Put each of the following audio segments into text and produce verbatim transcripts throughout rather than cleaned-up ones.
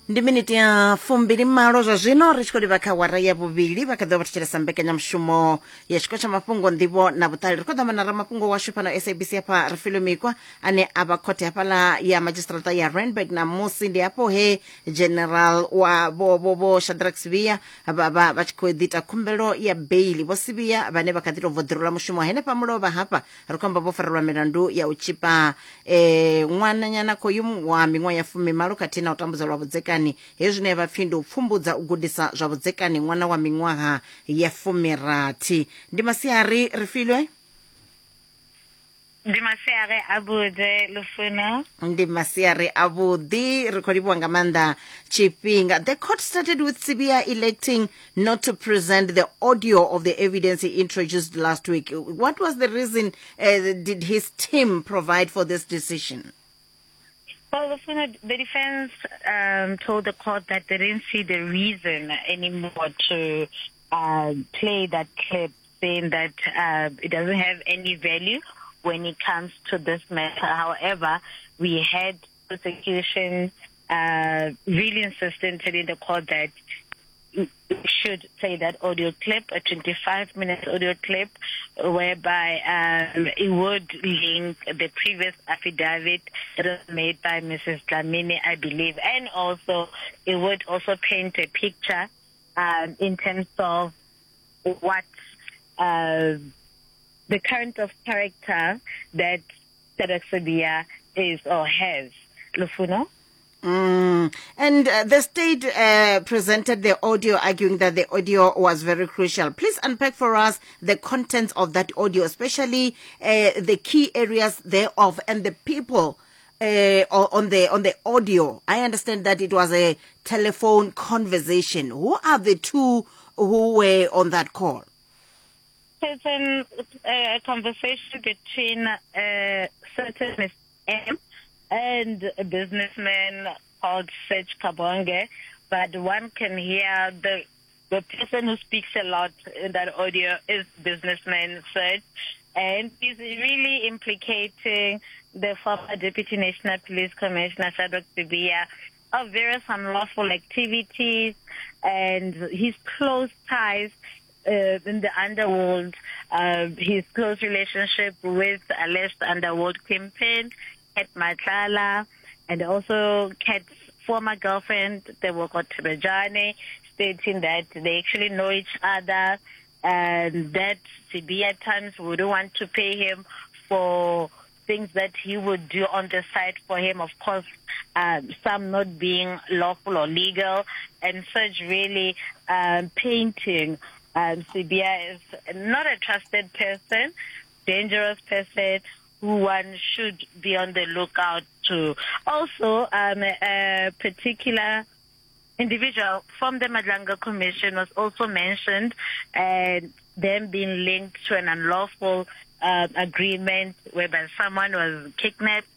Ndi miniti ya fumbili malo zwa zwino ri tshi khou livha kha wara ya vhuvhili. Vha kha ḓo vha thetshelesa mbekanyamushumo ya tshiko tsha mafhungo, nḓivho na vhuṱali. Ri khou ḓo amba na ramafhungo washu fhano S A B C hafha Refilwe Mikwa, ane a vha khothe hafhaḽa ya madzhisiṱiraṱa ya Randburg. Namusi ndi hafho he general wa vho vho vho Shadrack Sibiya vha vha vha tshi khou ḓi ita khumbelo ya beili. Vho Sibiya vhane vha kha ḓi tou bva ḓirula mushumo henefha mulovha hafha, ri khou amba vho farelwa milandu ya u tshipa eh ṅwananyana khoyu wa miṅwaha ya fumimalo khathihi na u tambudza lwa vhudzekani. Hezwi zwine vha pfhi ndi u pfumbudza u gudisa zwa vhudzekani ṅwana wa miṅwaha ya fumirathi. Ndi masiari, Refilwe. Ndi masiari avhuḓi, Lufuno. Ndi masiari avhuḓi, ri khou livhuwa nga maanḓa tshifhinga. The court started with Sibiya electing not to present the audio of the evidence he introduced last week. What was the reason uh, did his team provide for this decision? Well, Lufuno, the defense um, told the court that they didn't see the reason anymore to uh, play that clip, saying that uh, it doesn't have any value when it comes to this matter. However, we had prosecution uh, really insistent, telling the court that should play that audio clip, a twenty-five minute audio clip, whereby um, it would link the previous affidavit that was made by Missus Dlamini, I believe, and also it would also paint a picture um, in terms of what uh, the kind of character that Shadrack Sibiya is or has. Lufuno? Mm. And uh, the state uh, presented the audio, arguing that the audio was very crucial. Please unpack for us the contents of that audio, especially uh, the key areas thereof and the people uh, on the on the audio. I understand that it was a telephone conversation. Who are the two who were on that call? It's an, a conversation between uh, certain Miss M and a businessman called Serge Kabonge, but one can hear the the person who speaks a lot in that audio is businessman Serge, and he's really implicating the former Deputy National Police Commissioner Shadrack Sibiya of various unlawful activities and his close ties uh, in the underworld, uh, his close relationship with alleged underworld kingpin, Cat Matlala, and also Cat's former girlfriend, Tebogo Thobejane, stating that they actually know each other and that Sibiya at times wouldn't want to pay him for things that he would do on the side for him, of course, um, some not being lawful or legal, and such really um, painting um, Sibiya is not a trusted person, dangerous person, who one should be on the lookout to. Also, um, a particular individual from the Madlanga Commission was also mentioned, and them being linked to an unlawful uh, agreement whereby someone was kidnapped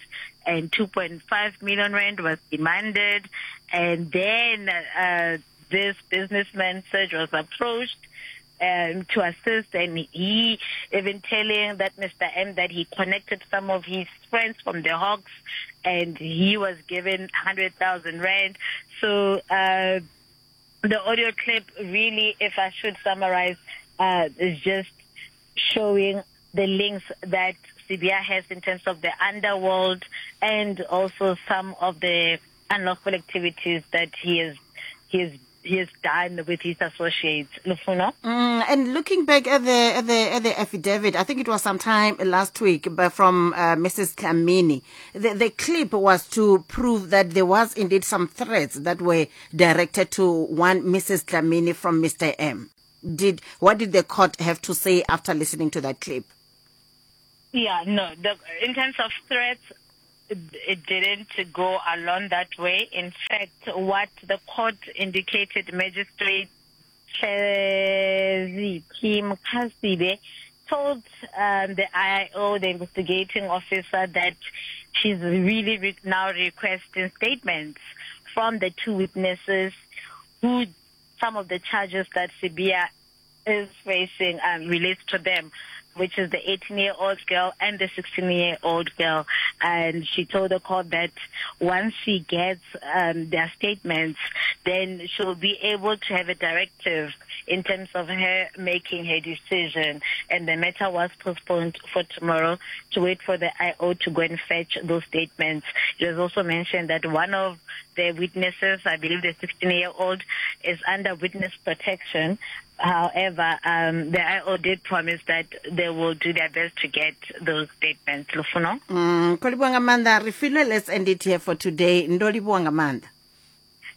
and two point five million rand was demanded. And then uh, this businessman, Serge, was approached um, to assist, and he even telling that Mister M that he connected some of his friends from the Hawks, and he was given one hundred thousand rand. So uh, the audio clip really, if I should summarize, uh, is just showing the links that Sibiya has in terms of the underworld and also some of the unlawful activities that he has he has he has done with his associates. Lufuno? Mm, and looking back at the at the at the affidavit, I think it was sometime last week, but from uh, Missus Dlamini, the, the clip was to prove that there was indeed some threats that were directed to one Missus Dlamini from Mister M. Did what did the court have to say after listening to that clip? Yeah, no. The, in terms of threats, it didn't go along that way. In fact, what the court indicated, Magistrate Kim Kasibe told um, the I O, the investigating officer, that she's really re- now requesting statements from the two witnesses who some of the charges that Sibiya is facing um, relates to them. which is the eighteen-year-old girl and the sixteen-year-old girl. And she told the court that once she gets um, their statements, then she'll be able to have a directive in terms of her making her decision. And the matter was postponed for tomorrow to wait for the I O to go and fetch those statements. It was also mentioned that one of the witnesses, I believe the sixteen-year-old, is under witness protection. However, um, the I O did promise that they will do their best to get those statements. Lufuno? Mm, ko livhuwa nga maanḓa. Refilwe, let's end it here for today. Ndo livhuwa nga maanḓa.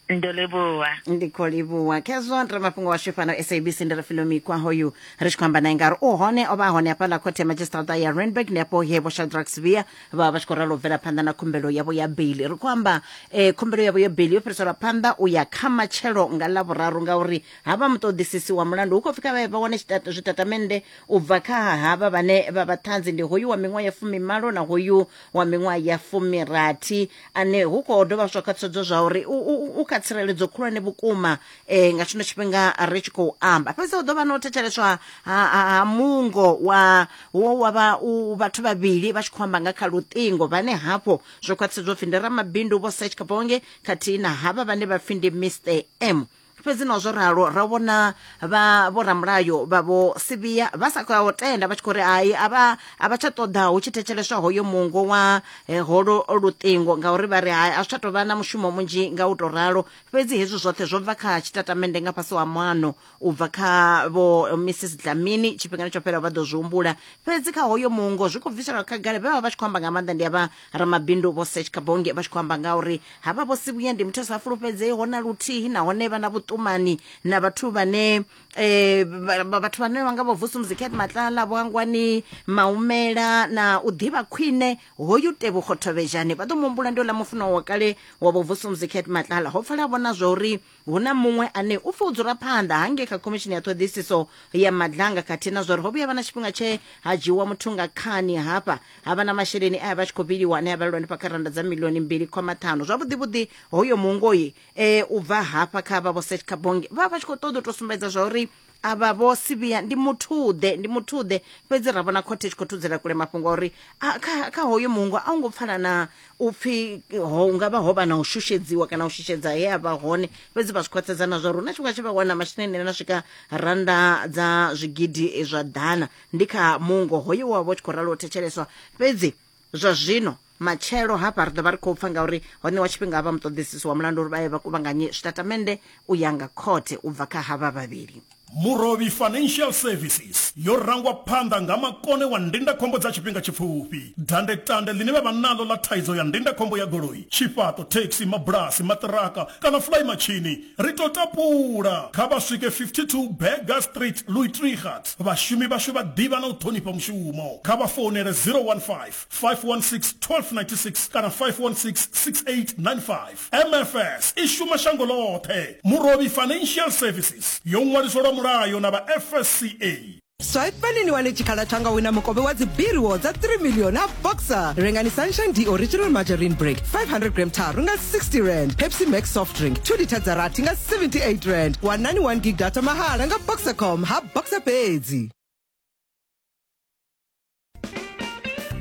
Ndo livhuwa. Ndi khou livhuwa. Khezwo ndi mafhungo washu fhano S A B C, ndi Refilwe Mikwa hoyu ri tshi khou amba naye ngauri u hone, o vha hone hafhaḽa khothe ya madzhisiṱiraṱa ya Randburg, ndi afho he vho Shadrack Sibiya vha vha tshi khou ralo u bvela phanḓa na khumbelo yavho ya beili. Ri khou amba eh, khumbelo yavho ya beili yo fhiriselwa phanḓa u ya kha matshelo nga ḽavhuraru, ngauri havha muṱoḓisisi wa mulandu hu khou pfi kha vha vha wane zwitatamennde u bva kha havha vhane vha vha ṱhanzi, ndi hoyu wa miṅwaha ya fumimalo na hoyu wa miṅwaha ya fumirathi, ane hu khou dovha zwa khwaṱhisedzo zwa uri u u kha tsireledzo khulwane vhukuma eh, nga tshino tshifhinga ri tshi khou amba. Fhedzi hu ḓo vha no thetsheleswa ha, ha mungo wa wo wa vha u vhathu vhavhili vha tshi khou amba nga kha luṱingo, vhane hafho zwo khwaṱhisedzwa pfi ndi ramabindu Vho Serge Kabonge khathihi na havha vhane vha pfi ndi Mister M. Fhedzi na zwo ralo ra vhona vha vho ramulayo vha vho Sibiya vha sa khou tenda, vha tshi khou ri ai a vha a vha tsha ṱoḓa hu tshi thetsheleswa hoyo mungo wa eh, holo luṱingo, ngauri vha ri hai a zwi tsha tou vha na mushumo munzhi nga u tou ralo. Fhedzi hezwi zwoṱhe zwo bva kha tshitatamennde nga fhasi wa muano u bva kha vho Missus Dlamini tshifhingani tsho fhelaho, vha ḓo zwi humbula. Fhedzi kha hoyo mungo zwi khou bviselwa khagala, vhe vha vha tshi khou amba nga maanḓa ndi avha ramabindu Vho Serge Kabonge, vha tshi khou amba ngauri havha vho Sibiya ndi muthu a sa fulufhedzeiho na luthihi, nahone vha na vhuṱumani na vhathu vhane eh, vhathu vhane vha nga vho Vusumuzi Cat Matlala, vho Hangwani Maumela, na u ḓivha khwine hoyu Tebogo Thobejane. Vha ḓo muhumbula ndi uḽa mufunwa wa kale wa vho Vusumuzi Cat Matlala. Ho pfala vhona zwa uri hu na muṅwe ane u pfi u dzula phanḓa hangei kha khomishini ya ṱhoḓisiso ya Madlanga, khathihi na zwa uri ho vhuya vha na tshifhinga tshe ha dzhiwa muthu nga khani hafha, ha vha na masheleni aya vha tshi khou vhiliwa ane a vhalelwa hanefha kha randa dza milioni mbili khoma ṱhanu. Zwavhuḓi vhuḓi hoyo mungoi eh, u bva hafha kha vha vho Serge Kabonge vha vha tshi khou ṱoḓa u tou sumbedza zwa uri avha vho Sibiya ndi muthuḓe, ndi muthuḓe. Fhedzi ra vhona khothe tshi khou thudzela kule mafhungo a uri kha, kha hoyo mungo a u ngo pfala na u pfi ho nga vha ho vha na u shushedziwa kana u shushedza he a vha hone. Fhedzi vha zwi khwaṱhisedza na zwa uri hu na tshifhinga tshe vha wana masheleni na swika randa dza zwigidi zwa ḓana, ndi kha mungo hoyo wa vho tshi khou ralo u thetsheleswa. Fhedzi zwa zwino matshelo hafha ri ḓo vha ri khou pfa ngauri ho ṋewa tshifhinga vha muṱoḓisisi wa mulandu uri vha ye vha kuvhanganye zwitatamennde u ya nga khothe u bva kha havha vhavhili. Murovhi Financial Services yo rangwa phanḓa nga makone wa ndindakhombo dza tshifhinga tshipfufhi. Dandetande ḽine vha vha naḽo ḽa thaidzo ya ndindakhombo ya goloi, tshifhaṱo, taxi, mabulasi, maṱiraka kana fly machine, ri to tapula. Kha vha swike fifty-two Berger Street, Louis Trichardt. Vhashumi vhashu vha ḓivha na u ṱhonifha mushumo. Kha vha founele zero one five, five one six, one two nine six kana five one six, six eight nine five. M F S i shuma shango ḽoṱhe. Murovhi Financial Services yo ṅwaliswa mulayo na vha F S C A. Swipani ni wane tshikhala tsha nga wina mukovhe wa dzi biriwo dza three million na Boxer. Rengani Sunshine D Original Margarine Break five hundred gram tharu nga sixty rand. Pepsi Max Soft Drink two liter dza rathi nga seventy-eight rand. Wanani one gig data mahala nga Boxercom ha Boxer fhedzi.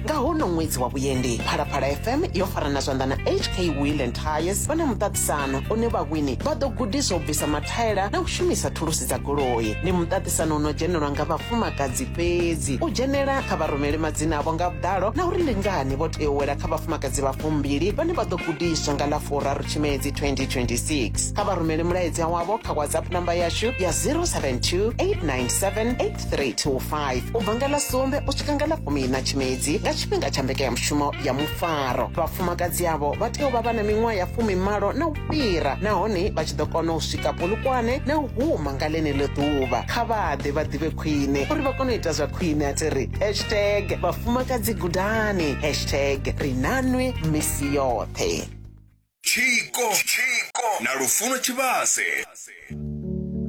Nga hono ṅwedzi wa vhuendi, Phalaphala F M yo farana zwanḓa na H K Wheel and Tires vha na muṱaṱisano une vhawini vha ḓo gudiswa u bvisa mathaela na u shumisa thulusi dza goloi. Ndi muṱaṱisano uno dzhenelwa nga vhafumakadzi fhedzi. U dzhenela kha vha rumele madzina avho nga vhuḓalo na uri ndi ngani vho tea u wela kha vhafumakadzi vha fumbili vhane vha ḓo gudiswa nga ḽa furaru Tshimedzi twenty twenty-six. Kha vha rumele mulaedza wavho kha WhatsApp namba yashu ya zero seven two, eight nine seven, eight three two five u bva nga ḽa sumbe u swika nga ḽa fumiiṋa Tshimedzi nga tshifhinga tsha mbekanyamushumo ya mufaro. Vhafumakadzi avho vha tea u vha vha na miṅwaha ya fumimalo na u fhira, nahone vha tshi ḓo kona u swika Polokwane na u huma nga ḽeneḽo ḓuvha. Kha vha ḓe vha ḓivhe khwine uri vha kone u ita zwa khwine. A thi ri hashtag vhafumakadzi gudani, hashtag ri nanwi misi yoṱhe. Tshiko na Lufuno Tshivhase.